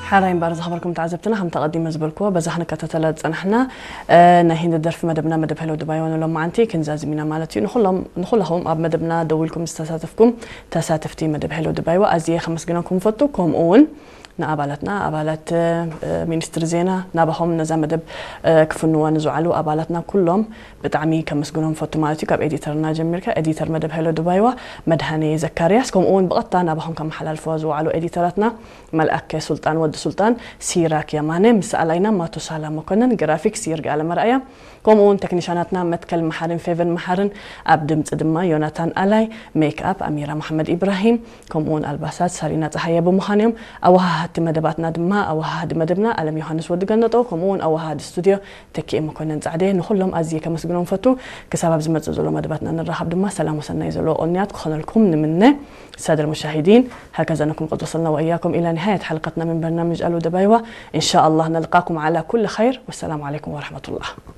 ሓራይ እምበር ዝኸበርኩም ተዓዘብትና፣ ከም ተቐዲመ ዝበልክዎ፣ በዛ ክንከታተላ ዝጸናሕና፣ እ፣ ናይ ሂንዲ ደርፊ መደብና፣ መደብ ሄሎ ድባይዋ ንሎማዓንቲ ክንዛዝም ኢና ማለት እዩ። ንኹሎም፣ ንኹላኹም ኣብ መደብና ደው ኢልኩም ዝተሳተፍኩም ተሳተፍቲ መደብ ሄሎ ድባይዋ ኣዝየ ከመስግነኩም ፈቱ። ከምኡ እውን ንኣባላትና፣ ኣባላት፣ እ፣ ሚኒስትሪ ዜና፣ ናባኹም ነዛ መደብ፣ እ፣ ክፍንዋ ንዝውዓሉ ኣባላትና ኩሎም ብጣዕሚ ከመስግኖም ፈቱ ማለት እዩ። ካብ ኤዲተርና ጀሚርካ፣ ኤዲተር መደብ ሄሎ ድባይዋ መድሃኔ ዘካርያስ፣ ከምኡ እውን ብቐጥታ ናባኹም ከመሓላልፍዋ ዝውዓሉ ኤዲተራትና፣ መልኣከ ሱልጣን ወዲ ሱልጣን፣ ሲራክ የማነ፣ ምስ ኣላይና ማቱሳላ መኮነን፣ ግራፊክስ ይርጋ ኣለመርኣያ፣ ከምኡ እውን ቴክኒሻናትና መትከል መሓርን ፌቨን መሓርን፣ ኣብ ድምፂ ድማ ዮናታን ኣላይ፣ ሜክ ኣፕ ኣሚራ መሓመድ ኢብራሂም፣ ከምኡ እውን ኣልባሳት ሳሪና ፀሃየ ብምዃን እዮም። ኣወሃሃድቲ መደባትና ድማ ኣወሃሃዲ መደብና ኣለም ዮሃንስ ወዲ ገነጦ፣ ከምኡ እውን ኣወሃሃዲ ስቱድዮ ተኪኤ መኮነን ጻዕዴ። ንኹሎም ኣዝየ ከመስግኖም ፈቱ። ክሳብ ኣብ ዝመጽእ ዘሎ መደባትና ንራኸብ ድማ ሰላም ወሰናይ ዘለዎ ቅንያት ክኾነልኩም ንምነ። السادة المشاهدين، هكذا نكون قد وصلنا وإياكم إلى نهاية حلقتنا من برنامج ألو دبايوة. إن شاء الله نلقاكم على كل خير، والسلام عليكم ورحمة الله.